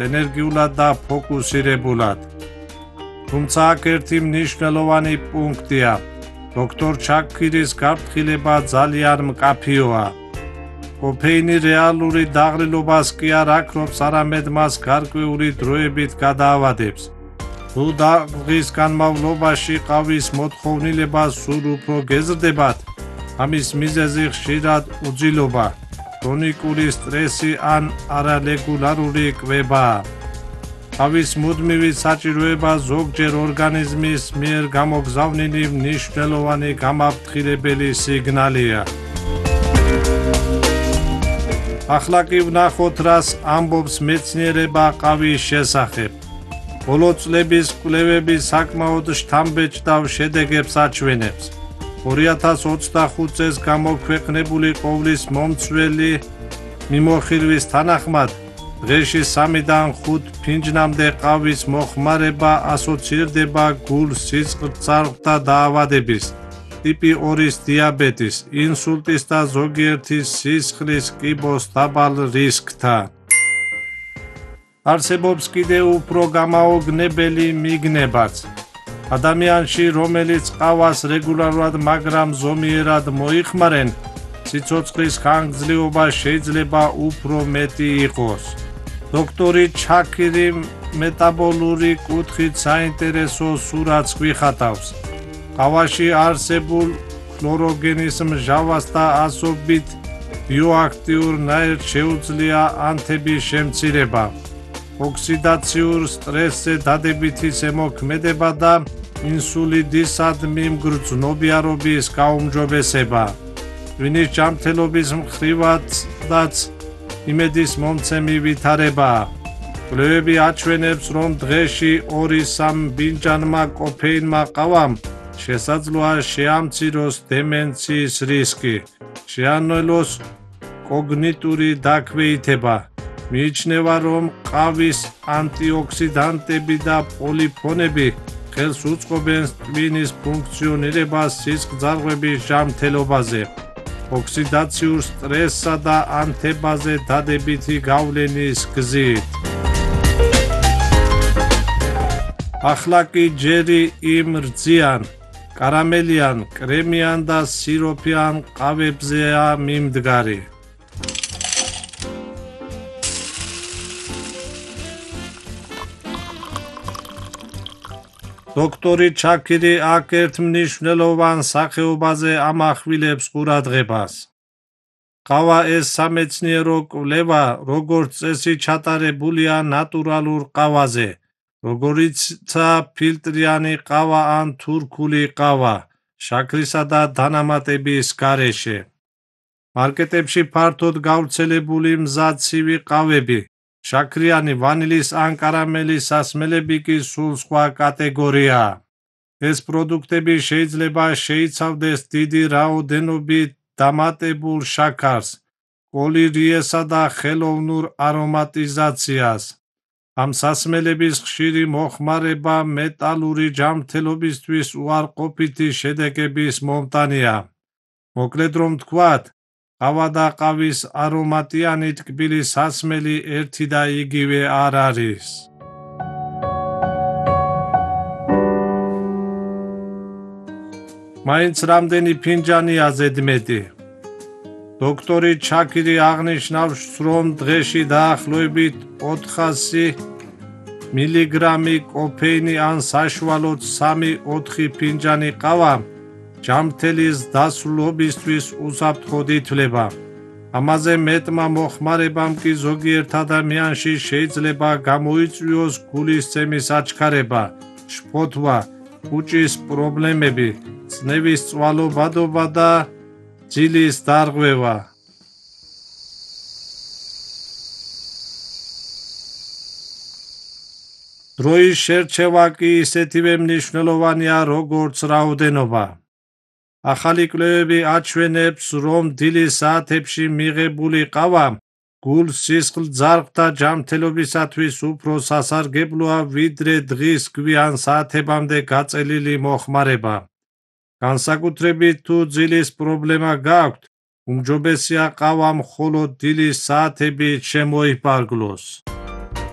ენერგიულად და ფოკუსირებულად. თუმცა აქ ერთი მნიშვნელოვანი პუნქტია. დოქტორ ჩაქირის გაფრთხილება ძალიან მკაფიოა. კოფეინი რეალური დაღლილობას კი არ აქრობს, არამედ მას გარკვეული დროებით გადაავადებს. თუ დღის განმავლობაში ყავის მოთხოვნილება სულ უფრო გეზრდებათ, ამის მიზეზი ხშირად უძილობა, ქრონიკული სტრესი ან არარეგულარული კვებაა. ყავის მუდმივი საჭიროება ზოგჯერ ორგანიზმის მიერ გამოგზავნილი მნიშვნელოვანი გამაფრთხილებელი სიგნალია. ახლა კი ვნახოთ, რას ამბობს მეცნიერება ყავის შესახებ. ბოლო წლების კვლევები საკმაოდ შთამბეჭდავ შედეგებს აჩვენებს. 2025 წელს გამოქვეყნებული ყოვლის მომცველი მიმოხილვის თანახმად, დღეში 3-დან 5 ფინჯნამდე ყავის მოხმარება ასოცირდება გულ-სისხლძარღვთა დაავადების, ტიპი 2-ის დიაბეტის, ინსულტის და ზოგიერთი სისხლის კიბოს დაბალ რისკთან. არსებობს კიდევ უფრო გამაოგნებელი მიგნებაც. ადამიანში, რომელიც ყავას რეგულარულად, მაგრამ ზომიერად მოიხმარენ, სიცოცხლის ხანგრძლივობა შეიძლება უფრო მეტი იყოს. დოქტორი ჩაქირი მეტაბოლური კუთხით საინტერესო სურათს გვიხატავს. ყავაში არსებულ ქლოროგენის მსჯავრს და ასობით ბიოაქტიურ ნაერთს შეუძლია ანთების შემცირება, ოქსიდაციურ სტრესზე დადებითი ზემოქმედება და ინსულინისადმი მგრძნობიარობის გაუმჯობესება. ტვინის ჯანმრთელობის მხრივადაც იმედის მომცემი ვითარებაა. კვლევები აჩვენებს, რომ დღეში 2-3 ფინჯანმა კოფეინმა ყავამ შესაძლოა შეამციროს დემენციის რისკი, შეანელოს კოგნიტური დაქვეითება. მიიჩნევა, რომ ყავის ანტიოქსიდანტები და პოლიფონები ხელს უწყობენ ტვინის ფუნქციონირებას სისხლძარღვების ჯანმრთელობაზე, ოქსიდაციურ სტრესსა და ანთებაზე დადებითი გავლენის გზით. ახლა კი ჯერი იმ რძიან, კარამელიან, კრემიან და სიროფიან ყავებზეა მიმდგარი. დოქტორი ჩაქირი აქ ერთ მნიშვნელოვან სახეობაზე ამახვილებს ყურადღებას. ყავა ეს სამეცნიერო კვლევა, როგორც წესი ჩატარებულია ნატურალურ ყავაზე, როგორიცაა ფილტრიანი ყავა ან თურქული ყავა, შაქრისა და დანამატების გარეშე. მარკეტებში ფართოდ გავრცელებული მზაცივი ყავები, შაქრიანი, ვანილის ან კარამელის სასმელები კი სულ სხვა კატეგორიაა. ეს პროდუქტები შეიძლება შეიცავდეს დიდი რაოდენობით დამატებულ შაქარს, კოლირიესა და ხელოვნურ არომატიზაციას. ამ სასმელების ხშირი მოხმარება მეტალური ჯანმრთელობისთვის უარყოფითი შედეგების მომტანია. მოკლედ რომ ვთქვათ, ყავა და ყავის არომატიანი ტკბილი სასმელი ერთი და იგივე არ არის. მაინც რამდენი ფინჯანია ზედმეტი? დოქტორი ჩაქირი აღნიშნავს, რომ დღეში დაახლოებით 400 მილიგრამი კოფეინი ან საშუალოდ 3-4 ფინჯანი ყავა ჯანმრთელის დასრულობისთვის უსაფრთხოდ ითვლება. ამაზე მეტმა მოხმარებამ კი ზოგიერთ ადამიანში შეიძლება გამოიწვიოს გულისცემის აჩქარება, შფოთვა, კუჭის პრობლემები, წნევის წვალობადობა და ძილის დარღვევა. დროის შერჩევა კი ისეთივე მნიშვნელოვანია, როგორც რაოდენობა. ახალი კვლევები აჩვენებს, რომ დილის საათებში მიღებული ყავა გულ-სისხლძარღვთა ჯანმრთელობისათვის უფრო სასარგებლოა, ვიდრე დღის გვიან საათებამდე გაწელილი მოხმარება. განსაკუთრებით თუ ძილის პრობლემა გაქვთ, უმჯობესია ყავა მხოლოდ დილის საათებით შემოიფარგლოს.